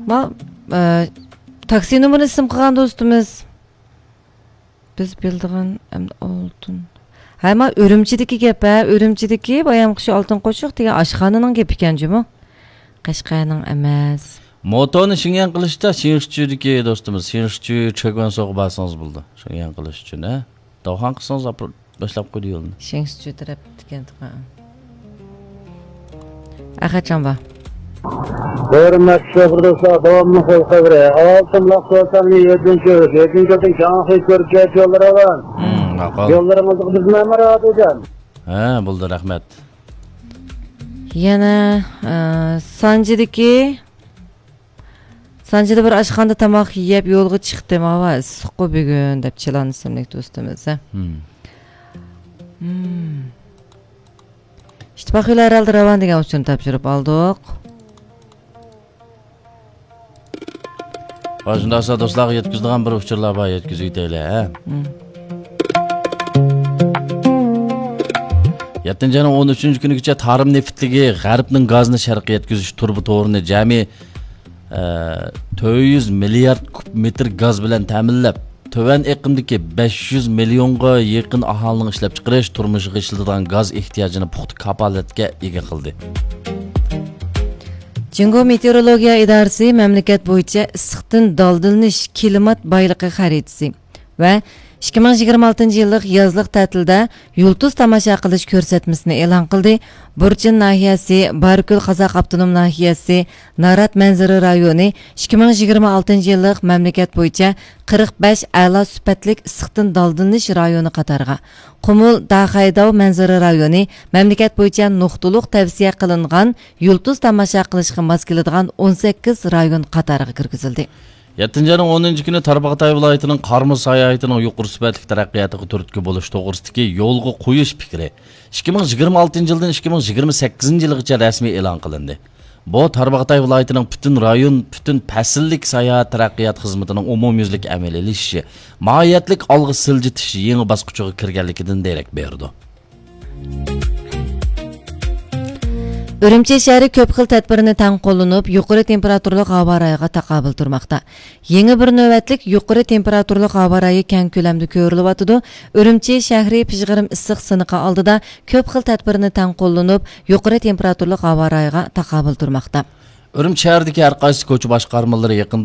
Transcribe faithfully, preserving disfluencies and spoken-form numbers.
ما، ئە، تاكسى نومۇرىنى ئىسىم قىلغان دوستىمىز. بىز بىلىدىغان ئەمدى ئالتۇن. ھە، ما ئۈرۈمچىدىكى گەپ، ھە، ئۈرۈمچىدىكى بايامقى شۇ ئالتۇن قوشۇق دېگەن ئاشخانىنىڭ گېپى ئىكەنجۇمۇ؟ قەشقەرنىڭ ئەمەس. موتونى شېڭيەن قىلىشتا شېڭشىچۈدىكى دوستىمىز، شېڭشىچۈ چېگۇەنسوغا بارسىڭىز بولىدۇ. شېڭيەن قىلىش ئۈچۈن، ھە؟ داۋخان قىلسىڭىز ئاپىرىپ باشلاپ قويدى يولنى. شېڭشىچۈ تەرەپ ئىكەن. ھەقەچان بار. ھۆرمەتلىك شوپۇر دوستلار، داۋاملىق يول خەۋىرى. ئالتۇن لاق سوساننى يەتتىنچى يۈز، يەتتىنچى يولدىن كاڭخۇي كۆركەچ يوللىرى بار. مم، ماقۇل. يوللىرىڭىزغا بىز مەمۇر ئادىجان. ھە، بولدى، رەھمەت. يەنە، ئە، سانجىدىكى، سانجىدا بىر ئاشخانىدا تاماق يەپ يولغا چىقتىم. ھاۋا ئىسسىققۇ بۈگۈن، دەپ چىلان ئىسىملىك دوستىمىز. ھە. مم. مم. ئىتتىپاق يولى ھەر ھالدا راۋان دېگەن ئۇچۇرنى تاپشۇرۇپ ئالدۇق. ۋاي، شۇنداق بولسا دوستلارغا يەتكۈزىدىغان بىر ئۇچۇرلار بار، يەتكۈزۈۋېتەيلى، ھە؟ مم. يەتتىنچى ئاينىڭ ئون ئۈچىنچى كۈنىگىچە تارىم نېفىتلىكى غەربنىڭ گازىنى شەرققە يەتكۈزۈش تۇرۇبا تورىنى جەمئىي، ئە، تۆت يۈز مىليارد كۇب مېتىر گاز بىلەن تەمىنلەپ، تۆۋەن ئېقىمدىكى بەش يۈز مىليونغا يېقىن ئاھالىنىڭ ئىشلەپچىقىرىش، تۇرمۇشىغا ئىشلىتىدىغان گاز ئېھتىياجىنى پۇختا كاپالەتكە ئىگە قىلدى. جۇڭگو مېتېئورولوگىيە ئىدارىسى مەملىكەت بويىچە ئىسسىقتىن دالدىلىنىش كىلىمات بايلىقى خەرىتىسى ۋە ئىككى مىڭ يىگىرمە ئالتىنچى يىللىق يازلىق تەتىلدە يۇلتۇز تاماشا قىلىش كۆرسەتمىسىنى ئېلان قىلدى. بۇرچىن ناھىيەسى، بارىكۆل قازاق ئاپتونوم ناھىيەسى، نارات مەنزىرە رايونى ئىككى مىڭ يىگىرمە ئالتىنچى يىللىق مەملىكەت بويىچە قىرىق بەش ئەلا سۈپەتلىك ئىسسىقتىن دالدىلىنىش رايونى قاتارىغا، قۇمۇل داخەيداۋ مەنزىرە رايونى مەملىكەت بويىچە نۇقتىلىق تەۋسىيە قىلىنغان يۇلتۇز تاماشا قىلىشقا ماس كېلىدىغان ئون سەككىز رايون قاتارىغا كىرگۈزۈلدى. يەتتىنچى ئاينىڭ ئونىنچى كۈنى تارباغاتاي ۋىلايىتىنىڭ قارامۇ ساياھىتىنىڭ يۇقىرى سۈپەتلىك تەرەققىياتىغا تۈرتكە بولۇش توغرىسىدىكى يولغا قويۇش پىكرى ئىككى مىڭ يىگىرمە ئالتىنچى يىلدىن ئىككى مىڭ يىگىرمە سەككىزىنچى يىلغىچە رەسمىي ئېلان قىلىندى. بۇ تارباغاتاي ۋىلايىتىنىڭ پۈتۈن رايون، پۈتۈن پەسىللىك ساياھەت تەرەققىيات خىزمىتىنىڭ ئومۇميۈزلۈك ئەمەلىيلىشىشى، ماھىيەتلىك ئالغا سىلجىتىش يېڭى باسقۇچىغا كىرگەنلىكىدىن دېرەك بېرىدۇ. ئۈرۈمچى شەھىرى كۆپ خىل تەدبىرنى تەڭ قوللىنىپ، يۇقىرى تېمپېراتۇرىلىق ھاۋا رايىغا تاقابىل تۇرماقتا. يېڭى بىر نۆۋەتلىك يۇقىرى تېمپېراتۇرىلىق ھاۋا رايى كەڭ كۆلەمدە كۆرۈلۈۋاتىدۇ. ئۈرۈمچى شەھىرى پىژغىرىم ئىسسىق سىنىقى ئالدىدا كۆپ خىل تەدبىرنى تەڭ قوللىنىپ، يۇقىرى تېمپېراتۇرىلىق ھاۋا رايىغا تاقابىل تۇرماقتا. ئۈرۈمچى شەھىرىدىكى ھەر قايسى كوچا باشقارمىلىرى يېقىندا